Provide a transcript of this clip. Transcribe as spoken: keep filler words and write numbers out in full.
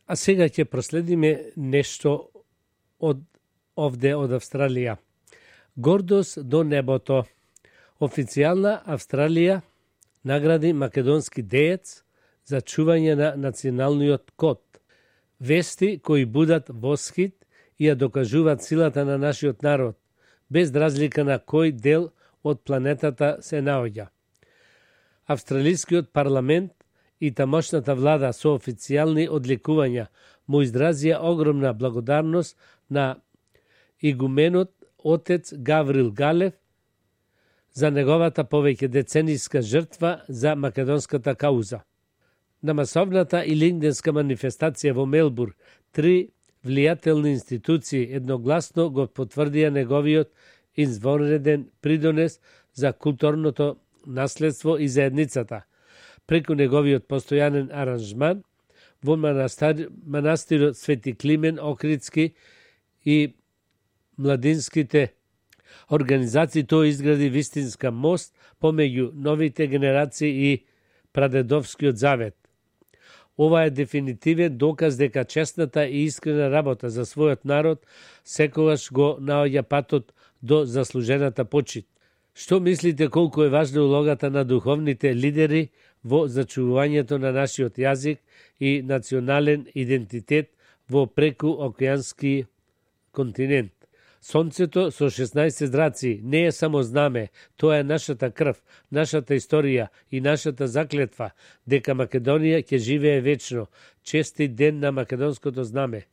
А сега ќе проследиме нешто од овде од Австралија. Гордост до небото. Официјална Австралија награди македонски деец за чување на националниот код. Вести кои будат восхит и ја докажуваат силата на нашиот народ, без разлика на кој дел од планетата се наоѓа. Австралискиот парламент и тамошната влада со официјални одликувања му изразија огромна благодарност на игуменот отец Гаврил Галев за неговата повеќе децениска жртва за македонската кауза. На масовната и лингденска манифестација во Мелбур, три влијателни институции едногласно го потврдија неговиот извонреден придонес за културното наследство и заедницата, преку неговиот постојанен аранжман во манастир, манастирот Свети Климен Охридски и младинските организации. Тој изгради вистинска мост помеѓу новите генерации и прадедовскиот завет. Ова е дефинитивен доказ дека честната и искрена работа за својот народ секогаш го наоѓа патот до заслужената почит. Што мислите колку е важна улогата на духовните лидери во зачувувањето на нашиот јазик и национален идентитет во прекуокеански континент? Сонцето со шеснаесет зраци не е само знаме, тоа е нашата крв, нашата историја и нашата заклетва дека Македонија ќе живее вечно. Честит ден на македонското знаме.